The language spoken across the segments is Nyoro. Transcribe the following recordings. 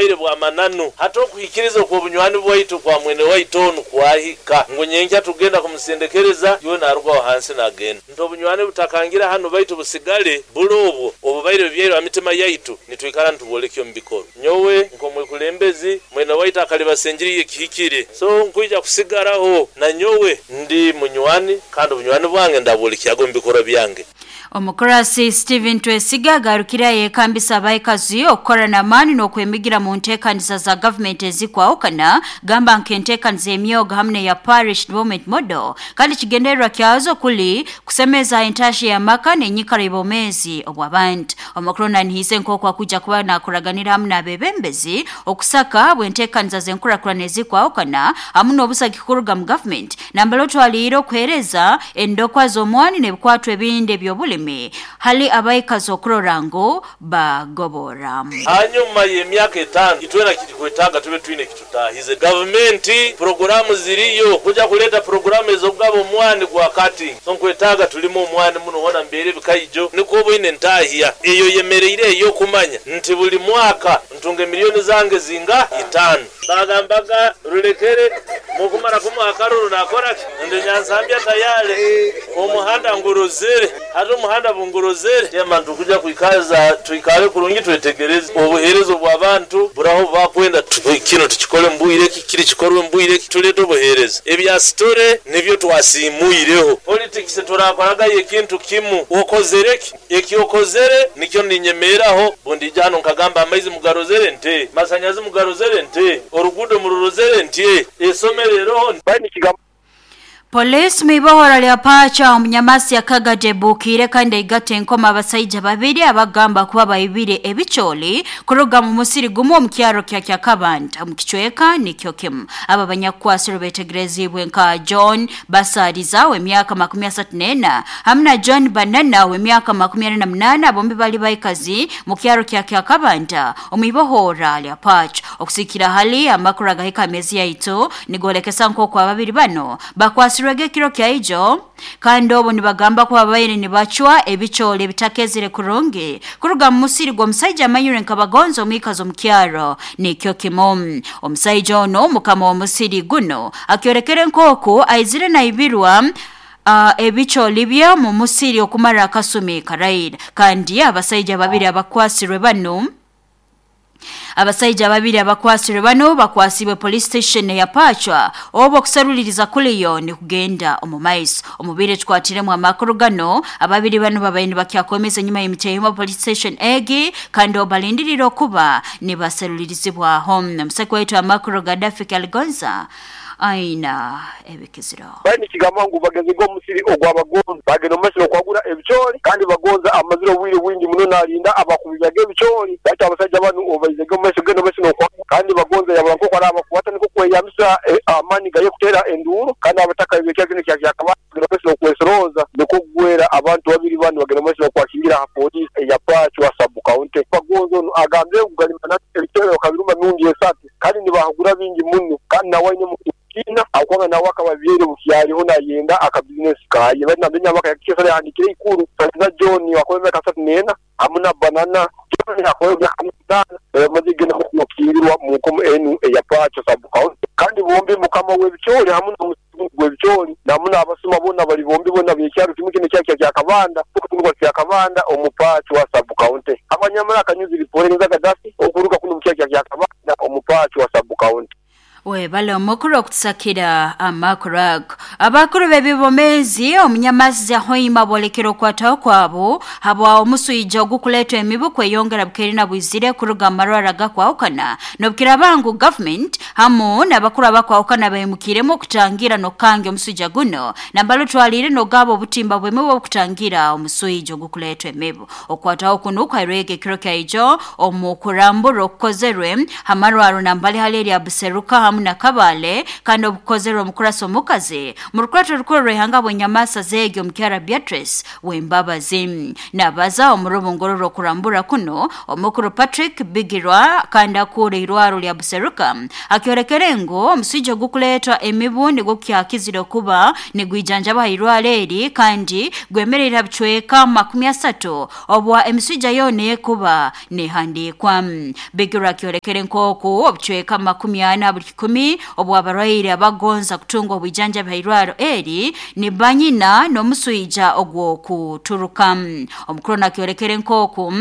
Bubaire bwa mananu. Hati okuhikiriza okw'obunywani bwaitu kwa mwene waitu onu kwahika ngu nyenkya tugenda kumusendekereza iwe narugaho hansi nagenda. Nti obunywani butakangira hanu baitu busigale buli obwo obubaire bubyairwe ha mitima yaitu nitwikara nitubwolekya omu bikorwa. Nyowe nk'omwekulembezi mwene waitu akalibasa enjiri y'ekihikire, so nkwija kusigaraho na nyowe ndi munywani kandi obunywani bwange ndabwolekyaga omu bikorwa byange. Omukurasi Stephen Twesiga agarukire ayekambisa abaikazi okukora n'amaani n'okwemigira mu nteekaniza za gavumenti ezikwahukana, gamba nk'enteekaniza emyoga hamu n'eya Parish Development Model, kandi kigendererwa kyazo kuli kusemeza entahya y'amaka n'enyikara y'obwomeezi obw'abantu. Omukuru nanihize nk'oku akujja kuba nakoraganira hamu n'abebembezi okusaka bw'enteekaniza z'enkurakurana ezikwahukana hamu n'obusagiki kuruga mu gavumenti, nambere otwaliire okuheereza endokwa z'omwani n'ebikwatwa ebindi eby'obulimi hali abaikazi okurora ngu bagobora. Hanyuma y'emyaka 5 itwena kitukwetaaga tube twine ekitutahize. Gavumenti puroguramu ziriyo kuja kuleeta puroguramu ez'okugaba omwani gwa cutting. So nkwetaaga tulime omwani muno hona mbeere ebikaijo nikwo oboine entahya eyo yemereire ey'okumanya nti buli mwaka ntunga emiliyoni zange zinga 5. Bagambaga rulekere mukumara kumuha akaruru nakoraki ndi Nyansambya tayari omuhanda ngurozere, hati omuhanda bungurozere tema ntukuja kwikaza twikale kurungi twetegereze obuheereza obw'abantu buraho bakwenda kino tukikole mbwire ki kiri kikorwe mbwire ki tulete obuheereza ebya sitore nibyo twasimuireho. Politics turakoragayo ekintu kimu, okozere ki ekyokozere nikyo ninyemeeraho bundija hano nkagamba amaizi mugarozere nte, masanyazi mugarozere nte, oruguudo mururozere ntye, esomero eroho. Polisi mwibohora lya Pacha omunyamasi yakagade bukire kandi eigate enkoma abasaija babiri abagamba kuba baibire ebicholi kuruga mu musiri gumu omu kyaro kya Kyakabanda omu kicweka nikyo kimu. Aba banyakukwasirwe betegerezibwe nka John Basariza w'emyaka 34 hamu na John Banana w'emyaka 48, bombi bali baikazi mu kyaro kya Kyakabanda omu ibohora lya Pacha. Okusikira hali amakuru agahika amezi yaitu nigolekesa nk'oku ababiri bano bakwasirwege ekiro kyaijo kandi obu nibagamba kuba babaire nibacwa ebicholi ebitakezire kurungi kuruga mu musiri gw'omusaija amanyire nkabagonza omwikazi omu kyaro nikyo kimu. Omusaija ono mukama w'omusiri guno akyorekere nk'oku aizire naibirwa ebicholi bye mu musiri okumara akasumi karaira, kandi abasaija babiri abakwasirwe bano Abasaija babiri abakwasirwe bano bakwasibwe police station ya Pachwa obo okusaruliriza kuliyo ni kugenda omu maiso. Omubire tukwatiremu amakuru gano ababiri bano babaire nibakyakomeza enyuma y'emiteehimo police station egi kandi obalindirire okuba nibasarulirizibwaho. Omusaki waitu amakuru Gaddafi Kaligonza aina ebikiziro. Bali nikigamba ngu bagezege omusiri ogw'abagonza bagenda omu maiso n'okwagura ebicoori kandi bagonza amazire obwire bwingi muno nalinda abakubizaga ebicoori, baitu abasaija banu obubaizege omu maiso genda omu maiso n'okwagura kandi bagonza yabura nk'oku arabakwata nikwo kweyambisa amaani gaye kuteera enduuru kandi abataka b'ekyaro kinu ekya Kyakabanda bagenda omu maiso n'okwesorooza nikwo kugwera abantu babiri banu bagenda omu maiso n'okwakingira ha poliisi eya Pachwa sub county. Bagonza onu agambire ngu gali mananu ebicoori bakabiruma emirundi esatu kandi nibahagura bingi muno kandi nawe aine kina akwanga nawe akaba abyaire bukyaliho nayenda akabizinesi kaye. Baitu nambere nyamaka yakikesera yahandikire ikuru Saliza John akora emyaka 34 hamu na Banana John akora emyaka 5 bamaze genda kukingirwa mu nkomo enu eya Pacho sub county kandi bombi mukama w'ebicoori hamu n'omusigu gw'ebicoori namu n'abasuma bona bali bombi bona b'ekyaro kimu kinu ekyaro kya Kyakabanda okutunurwa Kyakabanda omu Pachwa sub county. Abanyamara akanyuzi riporenza Gaddafi okuruga kuno mu kyaro kya Kyakabanda omu Pachwa sub county. Webale omukuru okutusakira amakuru ago. Abakuru b'ebibomezi omunyamasi Hoima bolekera okwataho kwabo habwa omuswija ogukuleetwa emibu kweyongera bukeeri na bwizire kuruga mu marwara gakwahukana n'obukiraba ngu government hamu n'abakuru abakwahukana baimukiremu okutangira n'okukanga omuswija guno nambali otwaliire n'ogaba obutimba bw'emibu obukutangira omuswija ogukuleetwa emibu. Okwataho kunu kwairwege ekiro kyaijo omu kurambura okukozerwe hamarwaro nambali hali erya Buseruka hamu hamu na Kabale kandi obukozerwe omukurasi omukazi mu rukurato rukuru rw'ihanga bw'enyamasa zeegi omukyara Beatrice Wembabazi. Nabaza omu rubungoro rw'okurambura kuno omukuru Patrick Bigirwa kandi akura irwaro lya Buseruka akyorekere ngu omuswija ogukuleetwa emibu nigwo kyakizire kuba nigwijanjaba irwaro eri kandi gwemerera bicweka 30 obwa emiswija yona ekuba nehandikwa. Bigirwa akyorekere nk'oku obucweka 40 buli 10 obw'abarwaire abagonza kutunga obwijanjabi hairwaro eri ni banyina n'omuswija ogw'okuturuka. Omukuru nakyorekere nk'oku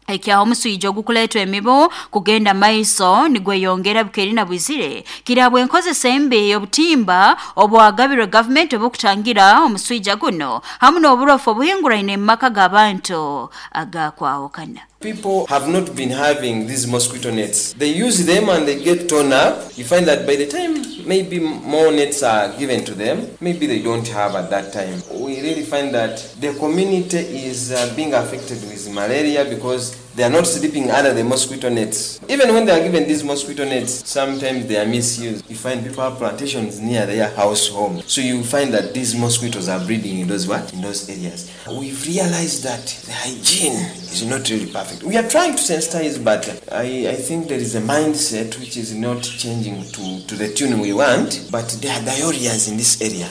ekyaho omuswija ogukuleetwa emibu kugenda maiso nigweyongera bukeri na bwizire kirabwe enkozesa embi y'obutimba obwagabirwe gavumenti obukutangira omuswija guno hamu n'oburofu obuhinguraine mu maka g'abantu agakwahukana. People have not been having these mosquito nets. They use them and they get torn up. You find that by the time maybe more nets are given to them, maybe they don't have at that time. We really find that the community is being affected with malaria because they are not sleeping under the mosquito nets. Even when they are given these mosquito nets, sometimes they are misused. You find people have plantations near their house home. So you find that these mosquitoes are breeding in those what? In those areas. We've realized that the hygiene is not really perfect. We are trying to sensitize, but I think there is a mindset which is not changing to the tune we want, but there are diarrheas in this area.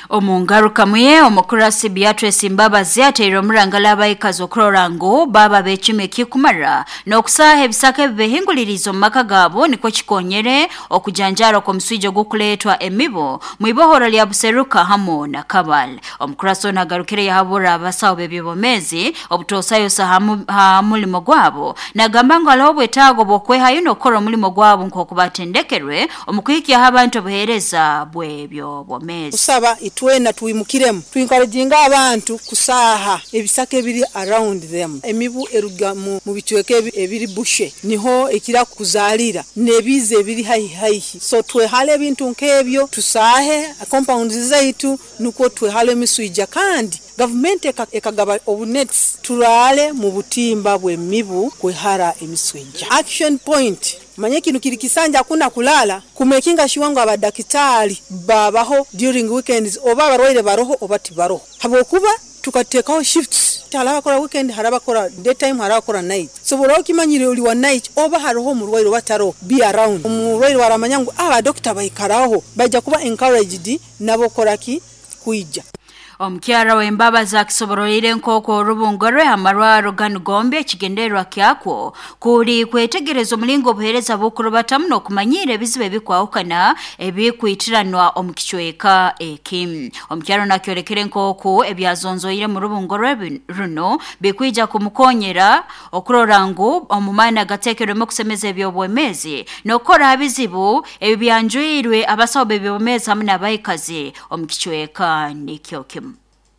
Omungaruka muye omukurasi Beatrice Mbabazi ateire omurangala abaikazi okurora ngu baba b'ekime kikumara n'okusaaha ebisaka ebibehinguliriza omu maka gaabo nikwo kikonyere okujanjara kw'omuswija ogukuleetwa emibu mwibohoro lya Buseruka hamu na Kabale. Omukurasi ono agarukire yahabura abasawo b'ebyobomezi obutoosayosa ha mulimo gwabo nagamba ngu hariho obwetaago bw'okwehayo n'okukora omulimo gwabo nk'oku batendekerwe omu kuhikyaho abantu obuheereza bw'ebyobomezi. Kusaba itwena tuimukiremu tuencouraginga abantu kusaha ebisaka ebiri around them. Emibu eruga mu bicweka ebiri bushe niho ekira kuzalira nebize ebiri haihi. So twehale ebintu nkebyo, tusahe compounds zaitu nukwo twehale emiswija, kandi government ekagaba obunets turale mu butimba bw'emibu kwehara emiswija. Action point manye kinu kiri kisanja hakuna kulala kumekinga shiwango abadakitari babaho during weekends oba abarwaire baroho oba tibaroho, habwokuba tukatekaho shifts, harabakora weekend, harabakora daytime, harabakora night. So bora okimanyire oli wa night oba haroho omurwaire bataro be around omurwaire waramanya ngu aba doctor baikaraho bajja kuba encouraged nabo koraki kuija. Omukyara w'Embabazi akisobororire nk'oku orubungo rwe amarwaro ganu gombi ekigendererwa kyakwo kuri kwetegereza omulingo obuheereza bukurubatamu n'okumanyira ebizibu ebikwahukana ebikwitiranwa omu kicweka eki. Omukyara ono akyorekere nk'oku ebyazonzoire mu rubungo rwe runo bikwija kumukonyera okurora ngu omu maani agateekerwemu okusemeza ebyobwemezi n'okukora ha bizibu ebibyanjwirwe abasawo b'ebyobwemezi hamu n'abaikazi omu kicweka nikyo kimu.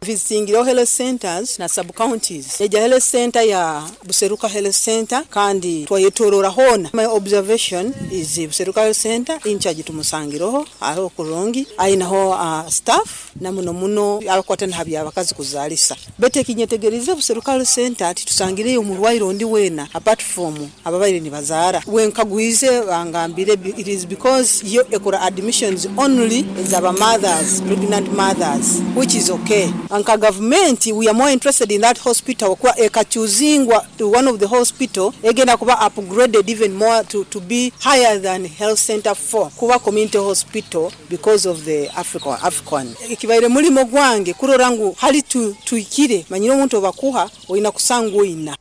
Visitingiro health centers na sub counties. Eja health center ya Buseruka Health Center kandi twayetorora hona. My observation is Buseruka Health Center in charge tumusangiroho aho kurungi ainaho staff na muno muno abakwata n'habya abakazi kuzalisa. Bete kinyetegerize Buseruka Health Center ati tusangireyo omurwaire ondi wena apart from ababaire ni bazara. Wenkagwize bangambire it is because yo ekora admissions only zaba mothers, pregnant mothers, which is okay. Anka government we are more interested in that hospital kwa ekachuzingwa to one of the hospital egenda kuba upgraded even more to be higher than health center 4 kuba community hospital because of the African ekibaire mulimo gwange kurora ngu hali tuikire manyire omuntu obakuha oina kusangu ina.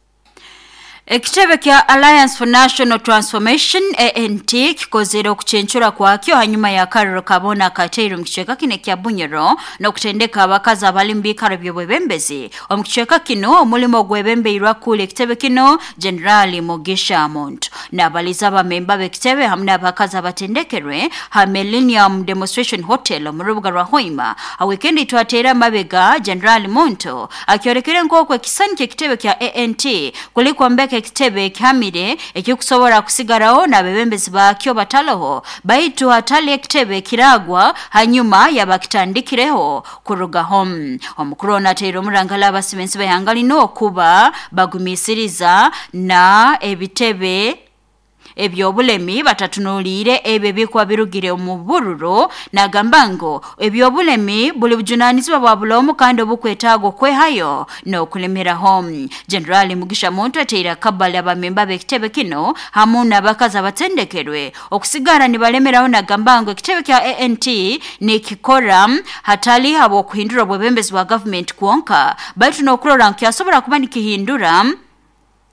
Ekitebe kya Alliance for National Transformation ANT kikozere okuchenchura kwakyo hanyuma ya kariro kabona kateiro mu kicweka kino kya Bunyoro n'okutendeka abakazi abali mu biikaro by'obwebembezi. Omu kicweka kino omulimo gwebembeirwa kule ekitebe kino Generali Mugisha Muntu n'abaliza abamemba b'ekitebe hamwe n'abakazi abatendekerwe ha Millennium Demonstration Hotel mu rubuga rwa Hoima. Ha weekend twatera amabega Generali Muntu akyorekere nk'oku ekisani ky'ekitebe kya ANT kuliko mbeke ekitebe kihamire ekikusobola kusigaraho n'abebembezi bakyo bataloho baitu hatali ekitebe kiragwa hanyuma yabakitandikireho kuruga home. Omukuru onateire omurangala abasibensi b'ihanga lino okuba bagumisiriza na ebitebe ebyobulemi batatunuliire ebyo ebikuba birugire omu bururu. Nagamba ngu ebyobulemi buli bujunanizibwa bwa bulomu kandi obukwetaaga okwehayo n'okulemeraho. Generali Mugisha Muntu ateire akabali abamemba b'ekitebe kino hamu n'abakazi abatendekerwe okusigara nibalemeraho. Nagamba ngu ekitebe kya ANT nikikora hatali habw'okuhindura obwebembezi bwa gavumenti kwonka, baitu n'okurora ngu kyasobora kuba nikihindura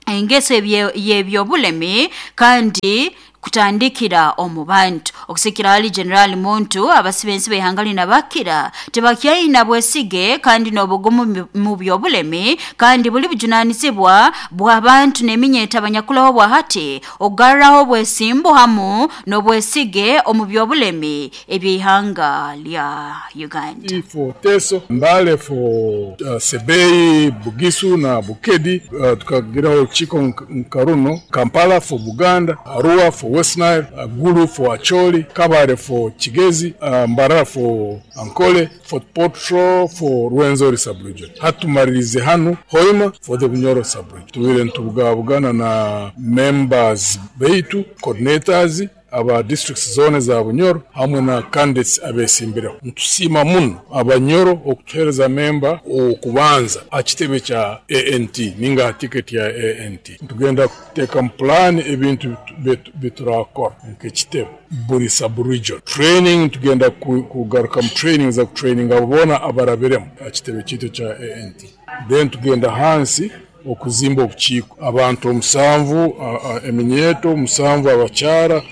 engeso y'ebyobulemi kandi kutandikira omu bantu. Okusikira hali Generali Muntu, abasibensi b'ihanga lino abakira tibakyaina bwesige kandi n'obugumu mu byobulemi, kandi buli bujunanizibwa bw'abantu n'eminyeta abanyakulaho bwa hati okugarraho obwesimbu hamu n'obwesige omu byobulemi eby'ihanga lya Uganda. For Teso, Mbale for Sebei, Bugisu na Bukedi, tukagiraho Chiko Nkaruno, Kampala for Buganda, Arua for West Nile, Gulu for Acholi, Kabale for Kigezi, Mbarara for Ankole, Fort Portal for Rwenzori sub-region. Hatumalirize hano Hoima for the Bunyoro sub-region. Tubire ntubugabugana na members beitu, coordinators aba districts zone za Bunyoro hamwe na candidates abesimbireho. Ntusiima muno abanyoro okutuhereza memba okubanza akitebe kya ANT ninga ticket ya ANT. Tugenda kuteeka mu plan ebintu biturakora nk'ekitebe buri sub-region. Training tugenda kugaruka mu training za training abo boona abarabiremu akitebe kitu kya ANT. Then tugenda hansi okuzimba obukiiko abantu 7, eminyeto 7, abakyara.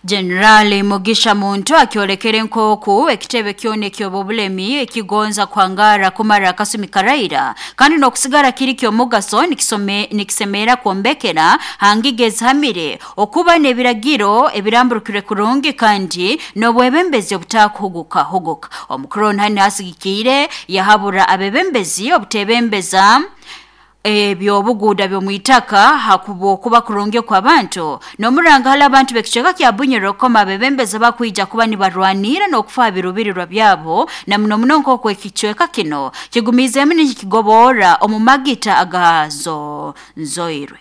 Generali Mugisha Muntu akiolekere nkoku ekitebe kyone ky'obulemi ekigonza kwangara kumara akasumi karaira kandi n'okusigara kiri ky'omugaso nikisemera kwombekera hangige zihamire okuba n'ebiragiro ebiramburukire kurungi kandi n'obwebembezi obutakuhuguka huguka. Omukuru hani asigikire yahabura abebembezi obutebembeza ebyobuguda by'omwitaka hakuba okuba kurungi kw'abantu n'omuranga hali abantu b'ekicweka kya Bunyoro koma abebembezi bakwija kuba nibarwanira n'okufa birubirirwa byabo na muno muno nk'oku ekicweka kino kigumizeemu nikigobora omu magita agazo nzoirwe.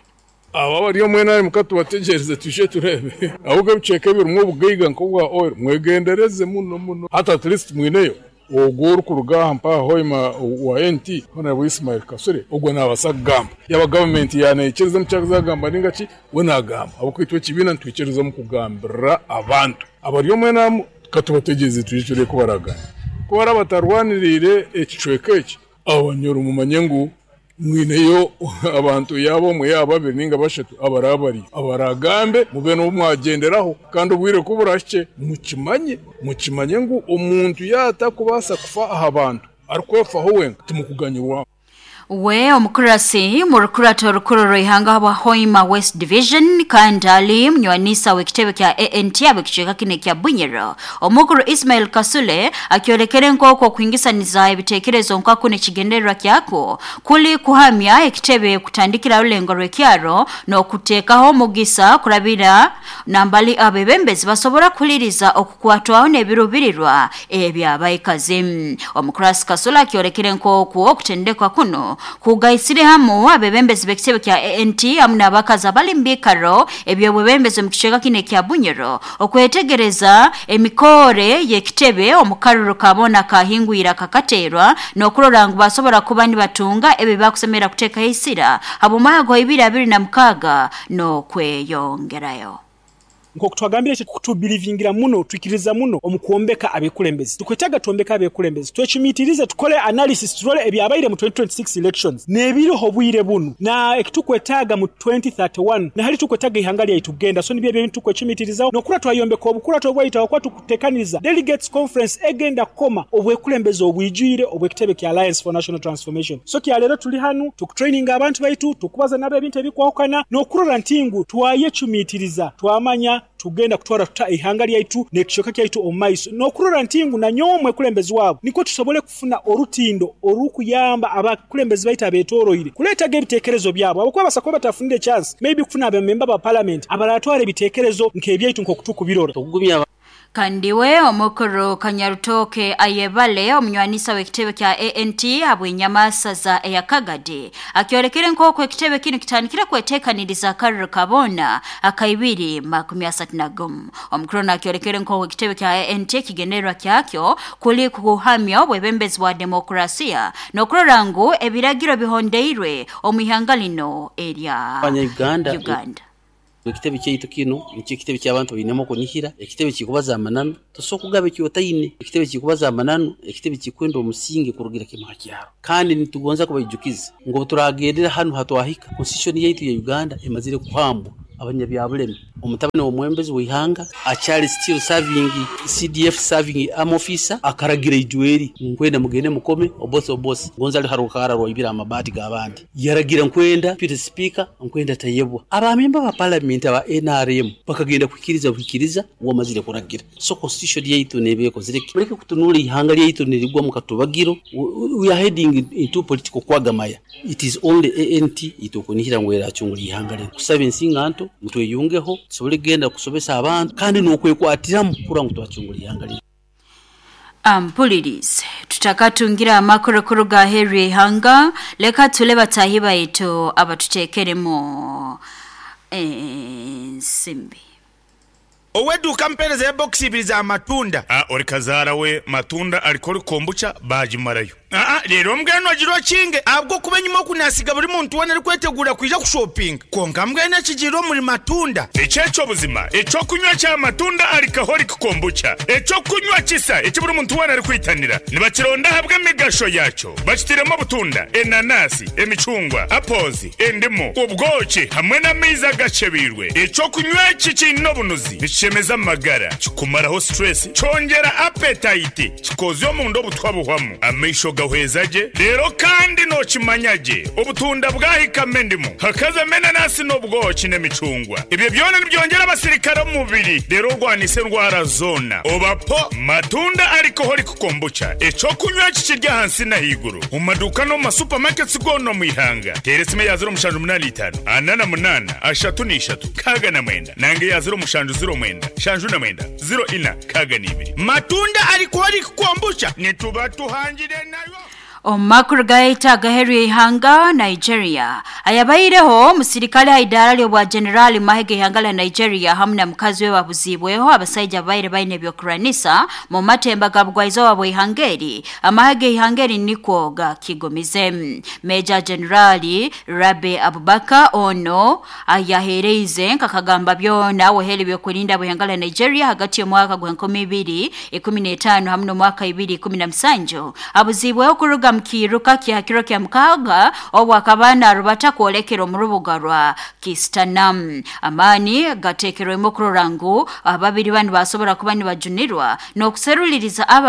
Aba bari omwena ari mukatubategereze tuje turebe ahubwo ebicweka ebirimu obugaiga nk'obwa oil mwegendereze muno muno, hata at least mwineyo ogwo orikuruga mpaha Hoima wa NT Honorable Ismail Kasule ogwo nabasa kugamba yaba government yanayikiriza mukyagamba ninga ki we nagamba abakwitwa ekibiina ntwikiriza mu kugambira abantu abari omwena katubategereze tuje turebe kubaraga kubara batarwanirire ekicweka eki abanyoro mumanye ngu mwineyo abantu yabo mwe yaba ninga bashatu abarabari abaragambe mube no mwagenderaho kandi obwire kuburashye mukimanye ngu omuntu yata kubasa kufa aha bantu arikwefaho wenka timukuganyirwa. We omukurasi murukurata orukuru rw'ihanga wa Hoima West Division kandi ali munywanisa w'ekitebe kya ANT ab'ekicweka kino kya Bunyoro, omukuru Ismail Kasule akiolekere nk'oku okuhingisaniza ebitekerezo nkaku n'ekigendererwa kyako kuli kuhamya ekitebe kutandikira rulengo rw'ekyaro n'okuteekaho omugisa kurabira nambali abebembezi basobora kuhuliriza okukwatwaho n'ebirubirirwa ebyabaikazi. Omukurasi Kasule akiolekere nk'oku okutendekwa kuno kugaisire hamu abebembezi b'ekitebe kya ANT hamu n'abakazi abali mu biikaro eby'obwebembezi omu kicweka kino ekya Bunyoro okwetegereza emikore y'ekitebe omu karuru kabona kahingwira kakaterwa n'okurora ngu basobora kuba nibatunga ebi bakusemera kuteekaho isira habw'omwaka gwa 2026 n'okweyongerayo. Nk'oku twagambire eki kutubilivingira muno, twikiriza muno omu kwombeka abekulembezi. Tukwetaaga twombeka abekulembezi, twecumitirize, tukole analysis, turole ebyabaire mu 2026 elections n'ebiriho obwire bunu na ekitukwetaaga mu 2031 na hali tukwetaaga ihanga lyaitu kugenda. So nibyo ebintu tukwecumitirizaho n'okura twayombeka obukurato obwaitu ahakuba tukutekaniriza delegates conference egenda kukoma obwekulembezi obwijwire obw'ekitebe kya Alliance for National Transformation. So kya leero tuli hanu tukutraininga abantu baitu, tukubaza nabo ebintu ebikwahukana n'okurora nti ngu twayecumitiriza twamanya tugenda kutwara tuta ihanga lyaitu n'ekicweka kyaitu omu maiso n'okurora nti ngu nanyowe omwekulembezi waabo nikwo tusobole kufuna orutindo orukuyamba abakulembezi baitu abetoroire kuleetaga ebiteekerezo byabo abakuba basa kuba batafunire chance maybe kufuna abamemba ba parliament abaratwara ebiteekerezo nk'ebyaitu nk'oku tukubirora. Kandi we omukuru Kanyarutoke ayebale omunywanisa w'ekitebe kya ANT habw'enyamasaza eya Kagadi akyolekere nk'oku ekitebe kinu kitandikire kweteekaniriza akaruru kabona akaibiri 31. Omukuru nakyolekere nk'oku ekitebe kya ANT ekigendererwa kyakyo kuli kuhamya obwebembezi bwa demokrasiya n'okurora ngu ebiragiro bihondeirwe omu ihanga lino erya Abanya-Uganda Uganda. Ekitebe kyaitu kino nikyo ekitebe ky'abantu bainemu okunihira, ekitebe kikubaza amananu, tosobola kugaba ekyotaine, ekitebe kikubaza amananu, ekitebe kikwenda omusingi kurugira kimu ha kyaro. Kandi nitugonza kubaijukiza ngu obu turagendera hanu hatwahika, constitution yaitu ya Uganda emazire kuhambwa abanyabyabulemi. Omutabani w'omwembezi w'ihanga akyali still serving CDF serving army officer akaragira ijweri nkwenda mugende mukome obose obose gonza ali harukara rwaibira amabati g'abandi, yaragira nkwenda Peter Speaker nkwenda tayebwa. Abamemba ba parliament aba NRM bakagenda kuhikiriza buhikiriza wamazire kuragira. So constitution yaitu nebe ekozire ki? Muleke kutunula ihanga lyaitu nirigwa mu katubagiro. We are heading into political kwagamaya. It is only ANT itukunihira ngu eracungura ihanga lino. Kusaba ensinganto mutweyungeho tusobole kugenda kusobesa abantu kandi n'okwekwatiramu kurora ngu twacungura ihanga lino. Ampulirize tutakatungira amakuru kuruga aheeru y'ihanga, leka tule batahi baitu abatuteekeremu ensimbi. Ow'edduuka mpeereza ya bokisi ibiri za matunda. A Ori kazaara we matunda alcoholic kombucha baagimarayo. Aa Leero mbwenu ogira okinge ahabw'okuba enyima oku naasiga buri muntu weena arikweteguura kwija kushopinga. Kwonka mbwenu ekigiire omuri matunda. Eky'ekyo buzima, eky'okunywa kya matunda alcoholic kombucha, eky'okunywa kisa eki buri muntu weena arikwitanira. Nibakironda ahabw'emigasho yaakyo. Bakitairemu obutunda, enanasi, emicungwa, apples, endimu, obwoki hamwe n'amaizi agakyebeirwe. Eky'okunywa eki kiine obunuzi, nikishemeza amagara, kikumaraho stress, kyongyera appetite, kikoozya omunda obutwa buhwamu, amaisho gahweza gye, reero kandi nookimanya gye obutunda bwahikamu endimu, hakazamu enanasi n'obwoki n'emicungwa. Ebyo byona nibyongyera abasirikare omu mubiri reero orwanise endwara zoona. Oba po Matunda Alcoholic Kombucha, eky'okunywa eki kiri ahansi n'ahaiguru omu maduuka n'omu ma supermarkets goona omu ihanga. Teera esimu eya 0785 48 33 69 nanga eya 0709 79 04 62. Matunda Alcoholic Kombucha nituba tuhangire nayo. Omu makuru gaita agaheeru y'ihanga Nigeria ayabaireho omusirikale ha idaara ly'obwa generali mu mahe g'ihanga lya Nigeria hamu na mukazi we babuziibweho abasaija ababaire baine ebyokurwanisa mu matemba ga bugwaizooba bw'ihanga eri. Amahe g'ihanga eri nikwo gakigumize. Meja Generali Rabe Abubakar ono ayaheereize nkakagamba byona weheri ebyokurinda bw'ihanga lya Nigeria hagati y'omwaka gwa 2015 hamu n'omwaka 2017 abuziibweho kuruga mu kiiruka kya kiro kya mukaaga obu akaba naarubata kwolekera omu rubuga rwa Kistanam. Amaani gateekerwemu okurora ngu ababiri banu basobora kuba nibajunirwa n'okuseruliriza abo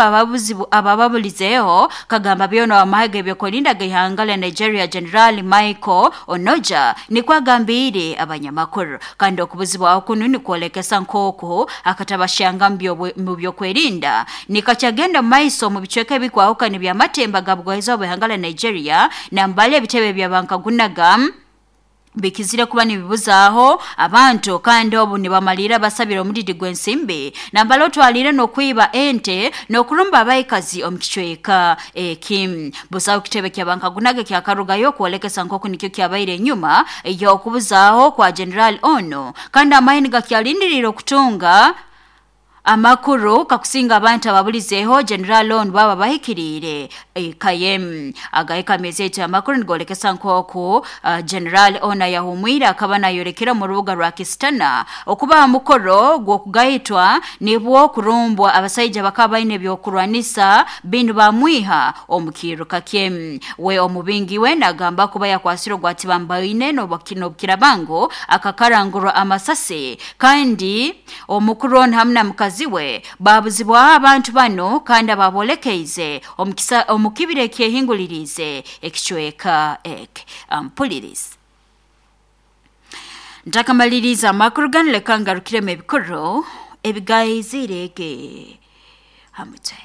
abababulizeeho kagamba byona w'amahe g'ebyokurinda g'ihanga lya Nigeria General Michael Onoja nikwo agambiire abanyamakuru. Kandi okubuzibwaho kunu nikwolekesa nk'oku akatabashanga mu byokwerinda nikakyagenda mu maiso omu bicweka ebikwahukana eby'amatemba ga bugwaizooba bw'ihanga lya Nigeria nambali ebitebe bya bankagunaga bikizire kuba nibibuzaaho abantu kandi obu nibamalira basabira omudidi gw'ensimbi nambala otwalire n'okwiba ente n'okurumba abaikazi omu kicweka eki. Busaho kitebe kya bankagunaga kyakarugayo kwolekesa nk'oku nikyo kyabaire enyuma ey'okubuzaaho kwa General ono kandi amahe nigakyalindirire okutunga amakuru kakusinga abantu ababulizeeho General ono baba bahikiriire ekayem. Agahika amezi eti amakuru nigolekesa nk'oku General ono yahumwire akaba nayorekera mu rubuga rwa Kistana okuba aha mukoro gw'okugayitwa nibwo kurumbwa abasaija bakaba baine ebyokurwanisa binu bamwiha omu kiiruka kye. We omubingi we nagamba kuba yakwasire ogwatibambaine n'obukirabango akakarangurwa amasasi kandi omukuru ono hamu na mukazi we babuzibwaho abantu bano kandi ababolekeize omu kibira ekyehingulirize ekicweka eke. Ampulirize ntakamaliriza amakuru ganu leka ngarukiremu ebikuru ebigaizirege hamutwe.